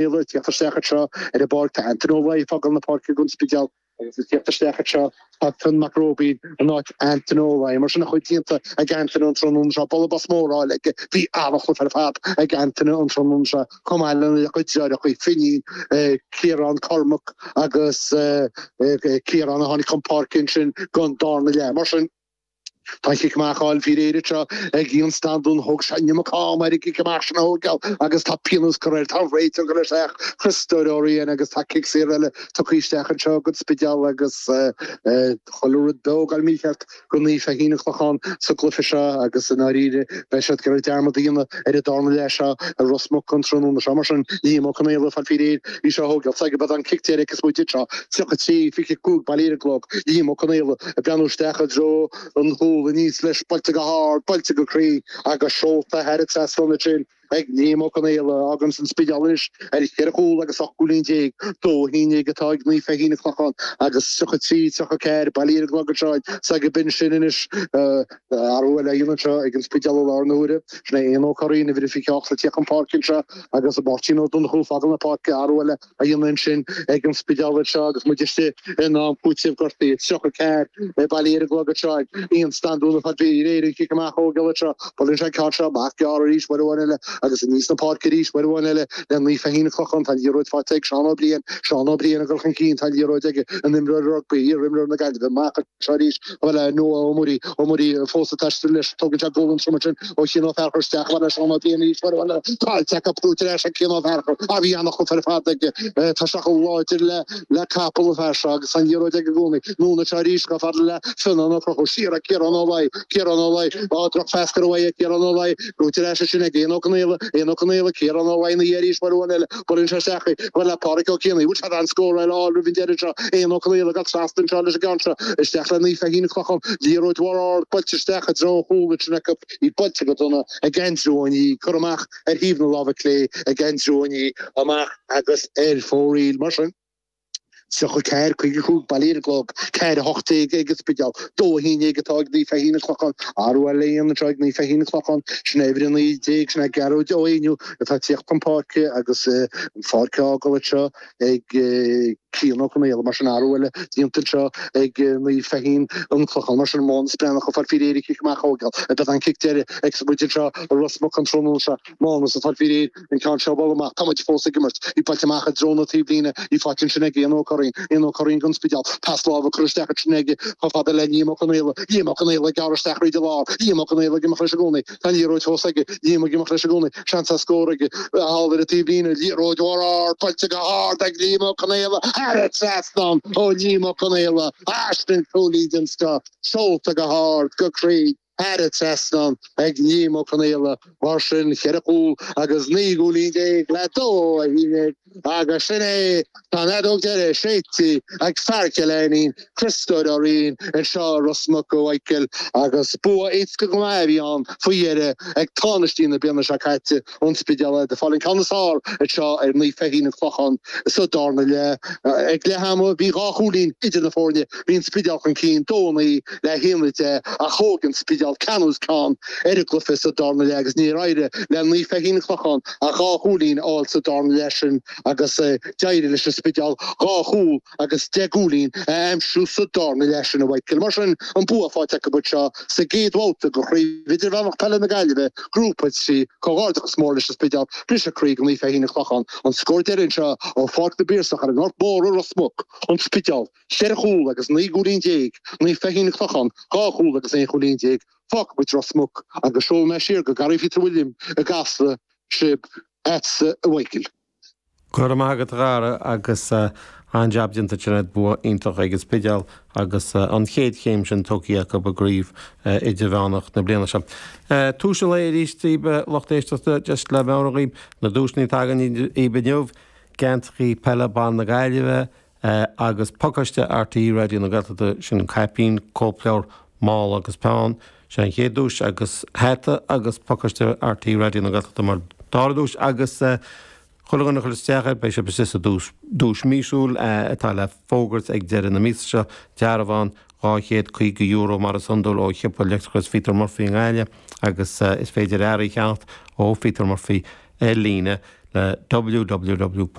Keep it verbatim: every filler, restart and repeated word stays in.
Conaola ag tíocht isteach anseo ar an bpáirc. Tá Antaine Ó Laoi ag fágáil na páirce don Spidéal agus ag tíocht isteach anseo tá Fionn Mac Róibín in áit Antaine Ó Laoi. Mar sin a chuid déanta ag Antaine an tráthnóna seo. Bualadh bos mór á fháil aige. Bhí an-chluiche ar fad ag Antaine an tráthnóna seo chomh maith lena chuid deartháireacha, Finín, Ciarán, Cormac agus Ciarán a tháinig chun páirce ansin don darna leath. Mar sin. Tá an cic amach á fháil faoi réir anseo ag Ian Standún. Thóg sé an iomarca ama air an cic amach sin a thógáil agus tá pionós curtha air. Tá an réiteoir ag dul isteach, Criostóir Ó Riain, agus tá cic saor eile tugtha isteach anseo don Spidéal agus chuile rud beo ag dul mícheart do Naomh Feichín an Clochán sa gcluiche seo agus i ndáiríre beidh siad ag iarraidh dearmad a dhéanamh ar an darna leath seo i Ros Muc an tráthnóna seo. Mar sin, Liam Ó Conaola ag fáil faoi réir í seo a thógáil. Sea, gurb an cic deiridh agus muid anseo, tríocha trí, fiche cúig bailithe ar an gclog. Liam Ó Conaola ag breathnú isteach i dtreo an chúil aníos leis, buailte go hard, buailte go cruinn agus seolta thar an trasnán ansin ag Liam Ó Conaola. Fágann an Spidéal anois ar cheithre chúl agus ocht gcúilín déag, dó a haon déag atá ag Naomh Feichín an Clochán agus tríocha trí, tríocha ceathair bailithe ar an gclog anseo sea gurb in sin anois athrú eile á dhéanamh anseo ag an Spidéal i láthair na huaire. Sin é Éanna Ó Curraoin, uimhir a fiche ocht le tíocht chun páirce anseo agus Máirtín Ó Donnchú ag fágáil na páirce, athrú eile á dhéanamh ansin ag an Spidéal anseo agus muid istigh in am cúitimh gortaithe. tríocha ceathair bailithe ar an gclog anseo ag Ian Standún ag fáil faoi réir an cic amach a thógáil anseo. Buaileann sé an ceann seo amach gearr arís uair amháin eile agus aníos na páirce arís uair amháin eile le Naomh Feichín an Clochán. Tá an liathróid faighte ag Seán Ó Briain. Seán Ó Briain ag dul chun cinn. Tá an liathróid aige, an imreoir rugbaí, iar-imreoir na Gaillimhe. Amach anseo arís le Noah Ó Muirí. Ó Muirí fós ag taisteal leis. Tógann sé gualainn trom ansin ó Chian Ó Fearchair isteach le Seán Ó Briain arís uair amháin eile. Caillte acu buaite ar ais ag Cian Ó Fearchair. Á bhí an-chluiche ar fad aige. Tá sé chomh láidir le le capall an fear seo agus an liathróid aige i gcónaí. Anonn anseo arís chomh fada le Fionnán Ó Conchúir. Siar ag Ciarán Ó Laoi. Ciarán Ó Laoi. Á drochphas curtha uaidh ag Ciarán Ó Laoi. Buaite ar ais ansin ag Éanna Ó Conaola. Éanna Ó Conaola. Ciarán Ó Laoi ina dhiaidh arís uair amháin eile. Buaileann sé isteach í. Chomh fada le Pádraic Ó Cianaigh. Bhfuil sé in ann scóráil a fháil roimh an deireadh seo. Éanna Ó Conaola ag dul trasna anseo leis an gceann seo. Isteach le Naomh Feichín an Clochán. Liathróid mhór ard buailte isteach i dtreo an chúil ansin acu. Í buailte go dona ag Aindriú Ó Ní. Curtha amach ar thaobh na láimhe clé ag Aindriú Ó Ní. Amach agus ar fóraoil. Mar sin, tríocha ceathair, caoga cúig bailithe ar an gclog, ceathair a hocht déag ag an Spidéal, dó a haon déag atá ag Naomh Feichín an Clochán, athrú eile á dhéanamh anseo ag Naomh Feichín an Clochán, sin é uimhir a naoi déag, sin é Gearóid Ó Éinniú atá ag tíocht chun páirce agus an pháirc á fhágáil anseo ag Cian Ó Conaola. Mar sin, athrú eile déanta anseo ag Naomh Feichín an Clochán. Mar sin, Mánas Breathnach ag fáil faoi réir an cic amach a thógáil. Beidh an cic deiridh ag muid anseo i Ros Muc an tráthnóna seo. Mánas ag fáil faoi réir an ceann seo a bhualadh amach. Tá muid fós ag imirt. Í buailte amach i dtreo na taobhlíne. Í faighte ansin ag Éanna Ó Curraoin. Éanna Ó Curraoin don Spidéal. Pas láimhe curtha isteach ansin aige chomh fada le Liam Ó Conaola. Liam Ó Conaola ag gearradh isteach thríd an lár. Liam Ó Conaola ag imeacht leis i gcónaí. Tá an liathróid fós aige. Liam ag imeacht leis i gcónaí. Seans ar scór aige. Thall ar an taobhlíne. Liathróid mhór ard buailte go hard ag Liam Ó Conaola. Thar an trasnán ó Liam Ó Conaola. Sin cúilín den scoth. Seolta go hard, go cruinn. Thar an trasnán ag Liam Ó Conaola. Mar sin, ceithre chúl agus naoi gcúilín déag le dó a haon déag agus sin é, tá an fheadóg deiridh séidte ag fear Chill Ainnín, Criostóir Ó Riain, anseo i Ros Muc, a Mhichael, agus bua éasca go maith a bhí ann faoi dheireadh ag tánaistí na bliana seo caite, An Spidéal, ag fáil an ceann is fearr anseo ar Naomh Feichín an Clochán sa darna leath. Ag leath ama bhí dhá chúilín idir na foirne, bhí an Spidéal chun cinn, dó a naoi le haon a deich, ach thóg an Spidéal ceann os cionn ar an gcluiche sa darna leath agus níor éirigh le Naomh Feichín an Clochán ach dhá chúilín a fháil sa darna leath sin agus d'éirigh leis an Spidéal dhá chúl agus deich gcúilín a aimsiú sa darna leath sin, a Mhichael. Mar sin, an bua faighte acu anseo sa gcéad bhabhta de Chraobh Idirmheánach Peile na Gaillimhe, Grúpa trí. Comhghairdeachas mór leis an Spidéal, briseadh croí do Naomh Feichín an Clochán. An scór deiridh anseo ó Pháirc na bPiarsach ar an nGort Mór i Ros Muc, An Spidéal, ceithre chúl agus naoi gcúilín déag, Naomh Feichín an Clochán, dhá chúl agus aon chúilín déag. Fágfaidh muid Ros Muc agus seolfaidh mé siar go Garraí Phíotair William i gCasla sibh, agatsa a Mhichael. Go raibh maith agat a Dhara agus an-jab déanta ansin agat, bua iontach ag an Spidéal agus an chéad chéim sin tógtha acu i gcraobh idirmheánach na bliana seo. Tús an lae arís daoibh lucht éisteachta, just le meabhrú dhaoibh na duaiseanna atá againn daoibh inniu, geansaithe peile ban na Gaillimhe agus pacáiste RTÉ Raidió na Gaeltachta, sin caipín, cóipleabhar, mála agus peann, sin an chéad duais agus hata agus pacáiste RTÉ Raidió na Gaeltachta mar dara duais agus Chuile dhuine a chuir isteach air, beidh sibh istigh sa duais míosúil atá le fógairt ag deireadh na míosa seo, dearbhán dhá chéad caoga euro mar is iondúil ó shiopa leictreachais Pheter Murphy i nGaillimh agus is féidir earraí a cheannacht ó Pheter Murphy ar líne. le www.